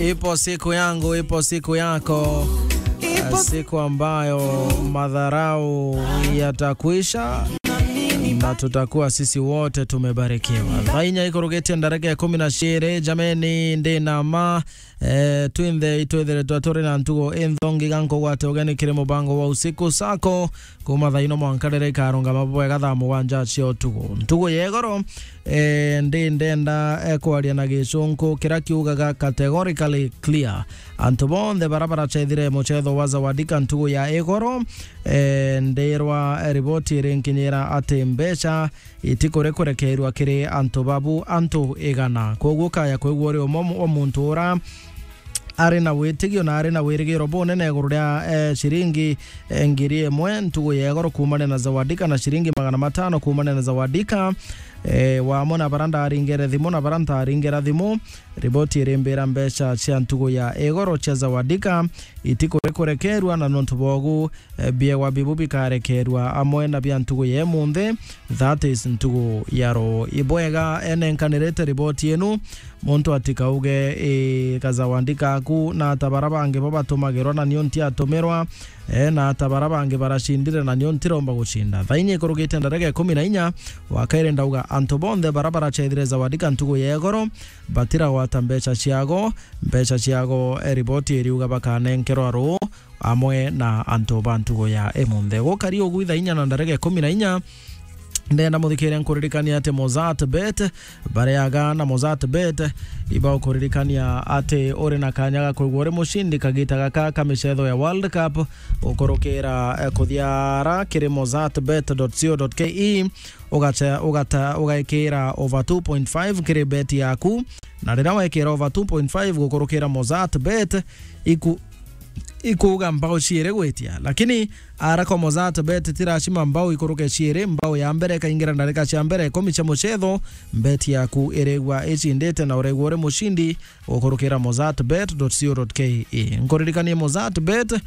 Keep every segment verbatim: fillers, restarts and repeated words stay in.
Ipo siku yangu, ipo siku yako, siku ambayo madharau yatakwisha na tutakuwa sisi wote tumebarikiwa. Thaa inya ikurugitie ndareke ya kumi na ciiri, jameni, ndi na ma, eh, twinthe itwithiritwe turi na ntugo inthongi ga nkugwate ugeni kiri mubango wa Usiku Sako, kuma thaa ino mwanka riria ikarungama bwega thaa mugwanja cia utuku. Ntugo ya igoro, eh, ndi ndenda, eh, kwaria na gicunku kiria kiugaga categorically clear. Antu bonthe bara baracethire mucetho wa Zawadika ntugu ya igoro, eh, ndirwa, eh, riboti irinkinyira ati mbeca itikuri kurekerwa kiri antu babu antu igana. Koguo kaya kwigua uri umwe wa muntu ura ari na witigio na ari na wirigiro bunene iguru ria, eh, ciringi, eh, ngiri imwe ntugu ya igoro kuumania na Zawadika na ciringi magana matano kuumania na Zawadika, eh, wamwe na bara ndaringere thimu na bara ntaringira thimu. Riboti irimbira mbeca cia ntugu ya igoro cia Zawadika itikuri kurekerwa, na nontu bogu, eh, biegwa bibu bikarekerwa amwe na bia ntugu ya imunthi, that is ntugu ya ruu. Ibwega enenkanirite riboti inu, muntu atikauge, "Ii, ka Zawadika aku na ata bara bangi bo batumagirwa na nio ntiatumirwa, eh, na ata bara bangi baracindire na nio ntiromba gucinda." Thaa inya ikurugite ndareke ikumi na inya, wa kairi ndauga antu bonthe bara baracethire Zawadika ntugu ya igoro, batiragwata mbeca ciago, mbeca ciago, eh, riboti iriuga bakanenkerwa ruu amwe na antu ba ntugu ya imunthi. Gukari ugu ithaa inya na ndareke ikumi na inya, ndenda muthikiria nkuririkania ati Mozart Bet, bariaga na Mozart Bet, ibaukuririkania ati uri na kanya ga kwigua uri mucindi kagita gaka ka micetho ya World Cup, ukurukira, eh, kuthiara kiri mozart bet dot co dot ke, ugacha-, ugata-, ugaikira over two point five kiri bet yaku, na riria wekira over two point five gukurukira Mozart Bet, iku-, ikuuga mbao ciiri gwitia. Lakini ara kwa Mozart Bet ti lazima mbao ikuruke ciiri, mbao ya mbere ikaingira ndarika cia mbere ikumi cia mucetho, bet yaku irigua icindite na urigua uri mucindi gukurukira mozart bet dot co dot ke. Nkuririkanie Mozart Bet,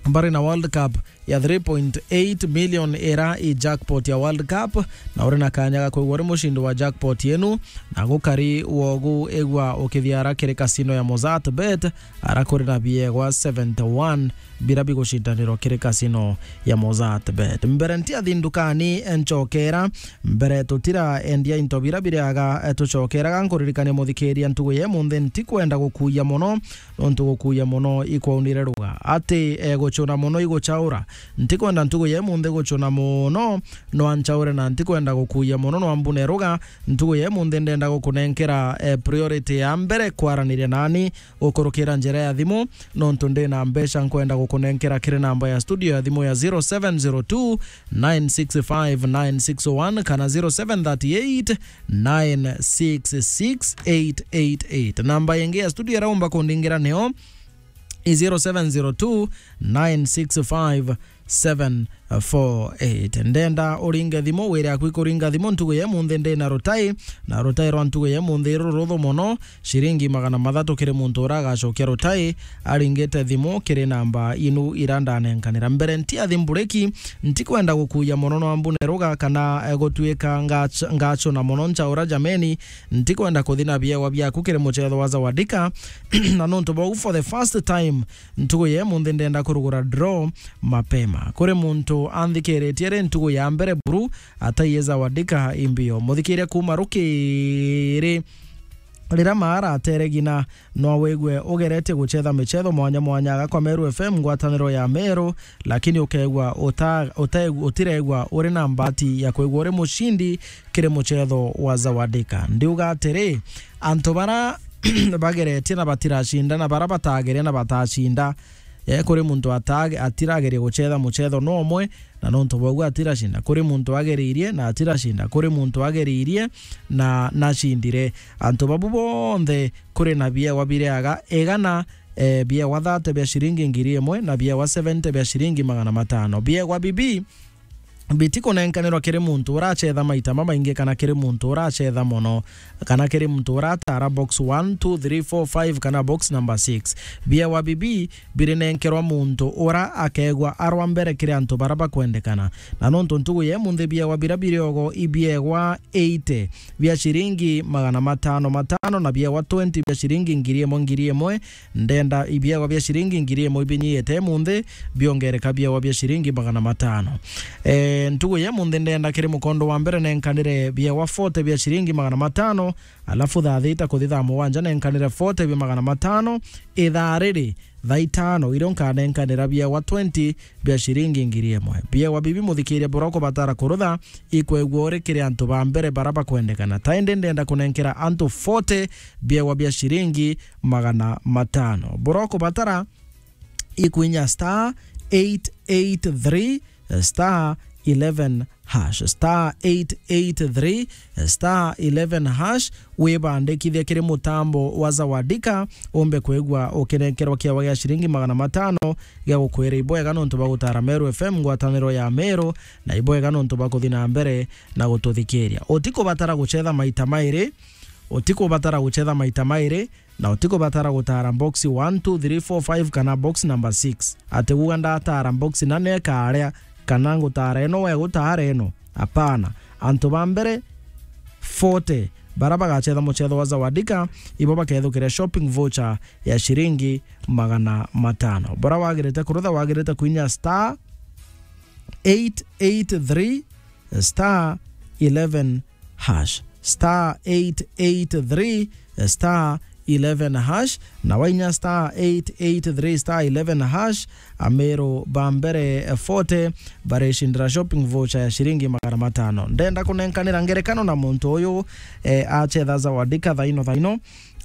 bari na World Cup ya three point eight million ira i jackpot ya World Cup, na uri na kanya ga kwigua uri mucindi wa jackpot yenu, na gukari wogu igua ukithiara kiri casino ya Mozart Bet, ara kuri na biegwa seventy one bira bigucindanirwa kiri casino ya Mozart Bet. Mbere ntiathi ndukani, nchokera mbere tutira endia into bira biriaga, eh, tucokeraga. Nkuririkania muthikiria ntugu ya imunthi ntikwenda gukuia mono, nontu gukuia mono ikwaunire ruga. Ati, eh, gucuna mono iguchaura. Ntikwenda ntugu ya imunthi gucuna mono, nwa nchaure na ntikwenda gukuia mono, nwa mbune ruga. Ntugu ya imunthi ndenda gukunenkera, eh, priority ya mbere kwaraniria nani gukurukira njira ya thimu, nontu ndi na mbeca nkwenda gukunenkera kiri namba ya studio ya thimu ya zero seven zero two nine six five nine six one kana zero seven thirty eight nine six six eight eight eight. Namba ingi ya studio iraumba kundingira nio i zero seven zero two nine six five seven four eight. Ndenda uringe thimu, wire aku ikuringa thimu ntugu ya imunthi ndi na rutai, na rutai rwa ntugu ya imunthi ruruthu mono, ciringi magana mathatu kiri muntu uria agacokia rutai aringite thimu kiri namba inu ira ndanenkanira. Mbere ntiathi mbureki, ntikwenda gukuia mono nwa mbune ruga kana, eh, gutuika ngach-, ngachuna mono nchaura jameni, ntikwenda kuthi na biegwa biaku kiri mucetho wa Zawadika, na nontu bau for the first time ntugu ya imunthi ndenda kurugura draw mapema. Kuri muntu anthikiritie ri ntugu ya mbere buru, ataiye Zawadika imbio. Muthikiria kuma rukiri riria maara ateregina, no wigue ugeretie gucetha micetho mwanya mwanya aga kwa Meru F M, ngwataniro ya Meru, lakini ukegua uta-, uta-, utiregua uri na mbati ya kwigua uri mucindi kiri mucetho wa Zawadika. Ndiuga atiri, antu bara bageretie na batiracinda, na bara batageria na batacinda. Eh, kuri muntu atage-, atirageria gucetha mucetho no umwe, na nontu bwauga atiracinda. Kuri muntu ageririe na atiracinda. Kuri muntu ageririe na nacindire. Antu babu bonthe kuri na biegwa biriaga igana, eh, biegwa thirty bia ciringi ngiri imwe na biegwa seventy bia ciringi magana matano. Biegwa bibi Biti kunenkanirwa kiri muntu uracetha maita mamaingi, kana kiri muntu uracetha mono, kana kiri muntu uratara box one, two, three, four, five, kana box number six. Biewa bibi birinenkerwa muntu ura akegwa arwa mbere kiri antu bara bakwendekana. Na nontu ntugu ya imunthi biewa bira biri ogo i biewa eighty bia ciringi magana matano matano, na biewa twenty bia ciringi ngiri imwe ngiri imwe, ndenda ibiewa bia ciringi ngiri imwe ibinyite imunthi biongereka biewa bia ciringi magana matano. E, ntugu ya imunthi ndenda kiri mukondo wa mbere nenkanire biewa forty bia ciringi magana matano, alafu thaa thita kuthi thaa mugwanja nenkanire forty bia magana matano, ithaa riri thaa itano irio nkanenkanira biewa twenty bia ciringi ngiri imwe. Biewa bibi muthikiria bura ukubatara kurutha ikwegua uri kiri antu ba mbere bara bakwendekana. Ta indi ndenda kunenkera antu forty biewa bia ciringi magana matano. Bura ukubatara ikwinya star eight eight three star eleven hash, star eight eight three star eleven hash, wibandikithie kiri mutambo wa Zawadika, umbe kwigua ukinenkerwa kiewa gia ciringi magana matano gia gukwira ibwega nontu bwa gutara Meru F M, ngwataniro ya Meru, na ibwega nontu bwa kuthi na mbere na gututhikiria. Utikubatara gucetha maita mairi, utikubatara gucetha maita mairi, na utikubatara gutara box one, two, three, four, five kana box number six. Ati kuuga ndatara box na nekaria, kana ngutara ino we gutara ino. Apana. Antu ba mbere forty bara bagacetha mucetho wa Zawadika, ibo bakethukira shopping voucher ya ciringi magana matano. Bara wagirite kurutha, wagirite kuinya star eight eight three star eleven hash, star eight eight three star eleven hash, na wainya star eight eight three star eleven hash, Ameru ba mbere forty baricindira shopping voucher ya ciringi magana matano. Ndenda kunenkanira ngerekano na muntu uyu, eh, acetha Zawadika thaino thaino.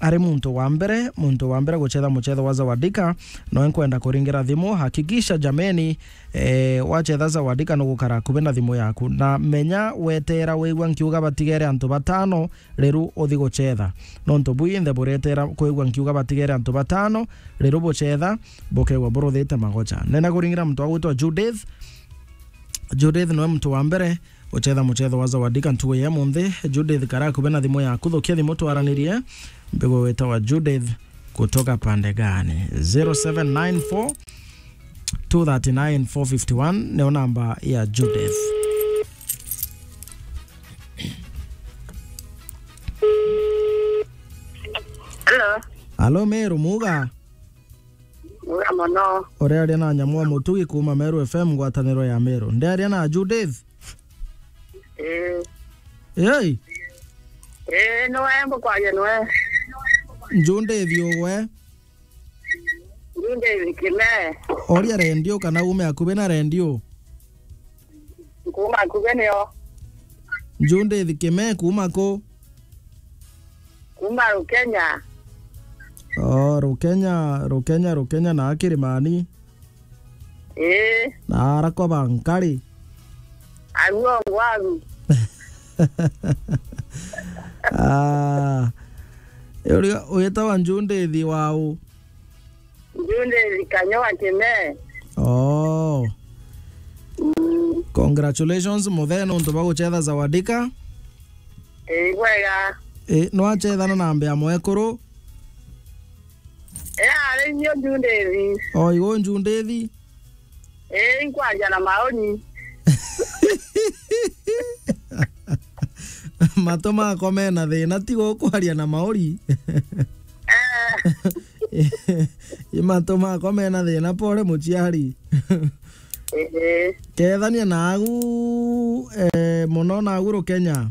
Ari muntu wa mbere, muntu wa mbere gucetha mucetho wa Zawadika, noe nkwenda kuringira thimu. Hakikisha jameni, eh, wacetha Zawadika nugukara akubi na thimu yaku. Na menya wetera wigua nkiuga batigere antu batano, riru uthi gucetha. Nontu bwinthe buretera kwigua nkiuga batigere antu batano, riru bucetha, bukegwa buruthite magocha. Nenda kuringira muntu wa gwitwa Judith. Judith noe muntu wa mbere gucetha mucetho wa Zawadika ntugu ya munthi. Judith, kara akubi na thimu yaku, thukia thimu twaranirie. Mbigu witawa Judith kutoka pande gani? Zero seven nine four, two thirty nine, four fifty one nio namba ya Judith. Hello. Alo, Meru, muga? Muga mono. Urearia na Nyamwa Mutugi kuuma Meru F M, ngwataniro ya Meru. Ndearia na Judith? Ii. Ei? Ii, niwe mbukwaria niwe. Judith ugwe? Judith Kime. Oria rendio kana ume akubi na rendio. Kuuma akubi nio. Judith Kime kuuma ku? Kuuma Rukenya. Oh, Rukenya, Rukenya, Rukenya na Kirimani. Ii. Na arakwa ba nkari. Aguo ngwagu. Ah. Uria witawa Judith wau? Judith Kanyoa Kime. Oh. Mm. Congratulations, muthe, nontu bwa gucetha Zawadika. Ii, bwega. Ii, nwacethana na mbea mwekuru? Ii, ari nio Judith. O, igo Judith? Ii, nkwaria na maoni. Matu makwa mena thina, tiga ukwaria na mauri. Eh. I matu makwa mena thina, pole muciari. Ii. Kethania nagu, eh, muno nagu Rukenya.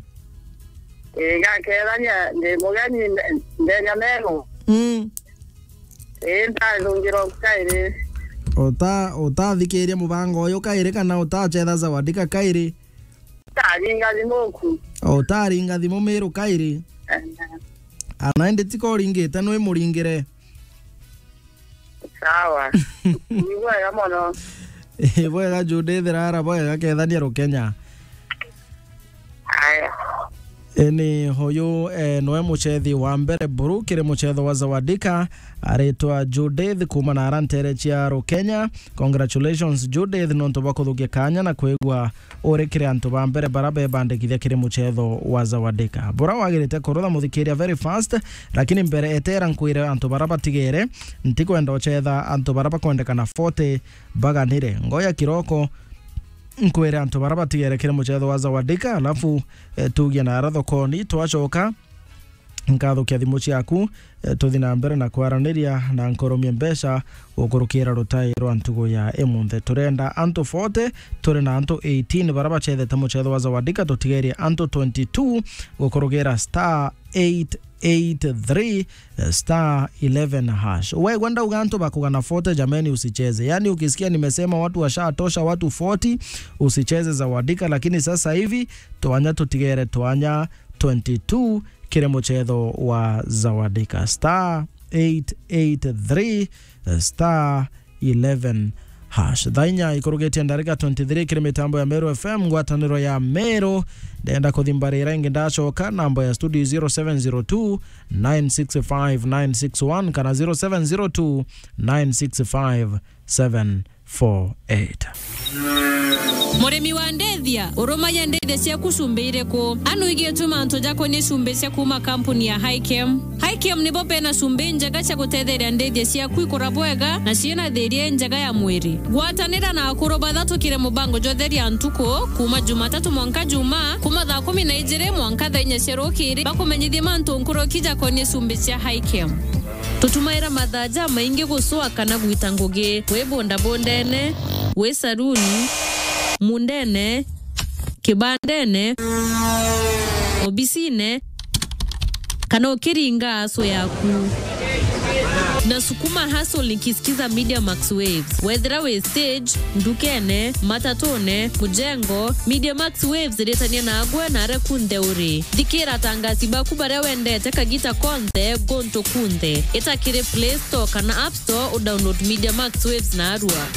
Ii, ngakethania ndi mugeni nde-, ndenya Meru. Mm. Ii, ntathungirwa kairi. Uta-, utathikiria mubango uyu kairi kana utachetha Zawadika kairi? Utaringa thimu ku. Utaringa thimu Miru kairi? Eh. Ana indi tika uringite, nwi muringire. Sawa. Ni bwega mono. Ii, bwega Judith, rara bwega, kethania Rukenya. Aya. E, ni huyu, e, noe muchethi wa mbere buru kiri muchetho wa Zawadika, aritwa Judith kuma na ara ntere cia Rukenya. Congratulations Judith, nontu bwa kuthukia kanya na kwigua uri kiri antu ba mbere bara bebandikithia kiri muchetho wa Zawadika. Bura wagirite kurutha muthikiria very fast, lakini mbere etera nkwire antu bara batigere, ntikwenda uchetha antu bara bakwendekana forty baganire. Ngoya kiroko nkwire antu bara batigere kiri muchetho wa Zawadika, alafu, e, tugie na ara thokoni, twacoka nkathukia thimu ciaku, e, tuthi na mbere na kwaraniria na nkoromie mbeca gukurukira rutai rwa ntugu ya imunthe. Turenda antu forty, turi na antu eighteen bara bachethete muchetho wa Zawadika, tutigerie antu twenty-two gukurukira star eight eight three, eh, star eleven hash. Wewe ndauga antu bakugana forty, jameni, usicheze. Yani ukisikia nimesema watu washatosha, watu forty, usicheze Zawadika, lakini sasa hivi twanya tutigere twanya twenty-two kiri muchetho wa Zawadika. Star eight eight three, eh, star eleven hash. Thaa inya ikurugitie ndarika twenty-three kiri mitambo ya Meru F M, ngwataniro ya Meru. Ndenda kuthimbarira ingi ndacoka, namba ya studio zero seven zero two, nine six five, nine six one kana zero seven zero two, nine six five, seven four eight. Murimi wa ndethia, urumagia ndethia ciaku cumbi iriku? Anu igiituma antu jakonie cumbi cia kuma kampuni ya Highchem. Highchem nibo bena cumbi njega cia gutetheria ndethia ciaku ikura bwega na ciina thiria njega ya mwiri. Gwatanira na akuru bathatu kiri mubango jwa Theria Ntuku, kuma Jumatatu mwanka Juma, kuma thaa kumi na ijiri mwanka thaa inya cia rukiri, bakumenyithie mantu nkuruki jakonie cumbi cia Highchem. Tutumaira mathaa jamaingi gucua kana gwita ngugi, wi bundabundene, wi saruni, mundene, kibandene, obisine, kana ukiringa aso yaku. Na sukuma hustle nikisikiza Media Max Waves. Wethira wi stage, ndukene, matatune, mujengo, Media Max Waves iritania nagwe na aria kunthe uri. Thikira atangasi baku baria wendete kagita konthe, guntu kunthe. Ita kiri Play Store kana App Store, u download Media Max Waves narua.